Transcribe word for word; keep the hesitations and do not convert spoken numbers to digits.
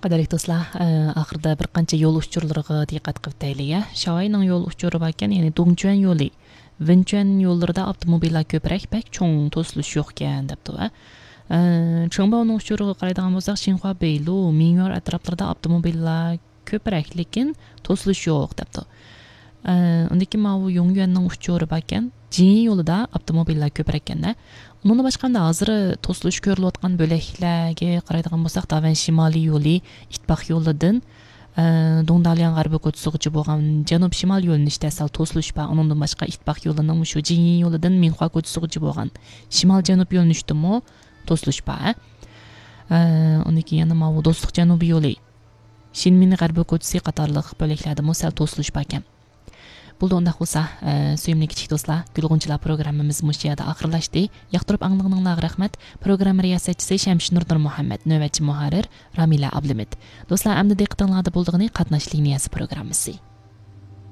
قەدىرلىك دوستلار، ئە، ئاخىرىدا بىر قانچە يول ئۇچۇرلىرىغا دىققەت قىلىپ ئۆتەيلى، يا. شاۋاينىڭ يول ئۇچۇرى باركەن، يەنى دۇڭچۈەن يولى، ۋېنچۈەن يوللىرىدا ئاپتوموبىللار كۆپرەك، بەك چوڭ توسۇلۇش يوقكەن، دەپتۇ، ھە. ئە، چېڭباۋنىڭ ئۇچۇرىغا قارايدىغان بولساق، شىنخۇا بېيلۇ، مىڭيۇر ئەتراپلىرىدا ئاپتوموبىللار كۆپرەك، لېكىن توسۇلۇش يوق، دەپتۇ. ئە، ئۇندىن كېيىن ماۋۇ يۇڭيۈەننىڭ ئۇچۇرى باركەن، جىنيى يولىدا ئاپتوموبىللار كۆپرەككەن-دە. ئۇنىڭدىن باشقا ئەمدى ھازىر توسۇلۇش كۆرۈلۈۋاتقان بۆلەكلەرگە قارايدىغان بولساق، داۋەن شىمالىي يولى، ئىتتىپاق يولىدىن، ئە، دۇڭدالياڭ غەربىي كوچىسىغىچە بولغان جەنۇب شىمال يۆنىلىشتە سەل توسۇلۇش بار. ئۇنىڭدىن باشقا ئىتتىپاق يولىنىڭ مۇشۇ جىنيى يولىدىن مىنخۇا كوچىسىغىچە بولغان شىمال جەنۇب يۆنىلىشتىمۇ توسۇلۇش بار. ئە، ئۇندىن كېيىن يەنە ماۋۇ دوستلۇق جەنۇبىي يولى، شىنمىن غەربىي كوچىسى قاتارلىق بۆلەكلەردىمۇ سەل توسۇلۇش باركەن. بولدى، ئۇنداق بولسا، ئە، سۆيۈملۈك كىچىك دوستلار، گۈل غۇنچىلار پروگراممىمىز مۇشۇ يەردە ئاخىرلاشتى. ياقتۇرۇپ ئاڭلىغىنىڭلارغا رەھمەت. پروگرامما رىياسەتچىسى شەمشىنۇر نۇرمۇھەممەت، نۆۋەتچى مۇھەررىر رامىلە ئابلىمىت. دوستلار، ئەمدى دىققىتىڭلاردا بولىدىغىنى قاتناش لىنىيەسى پروگراممىسى.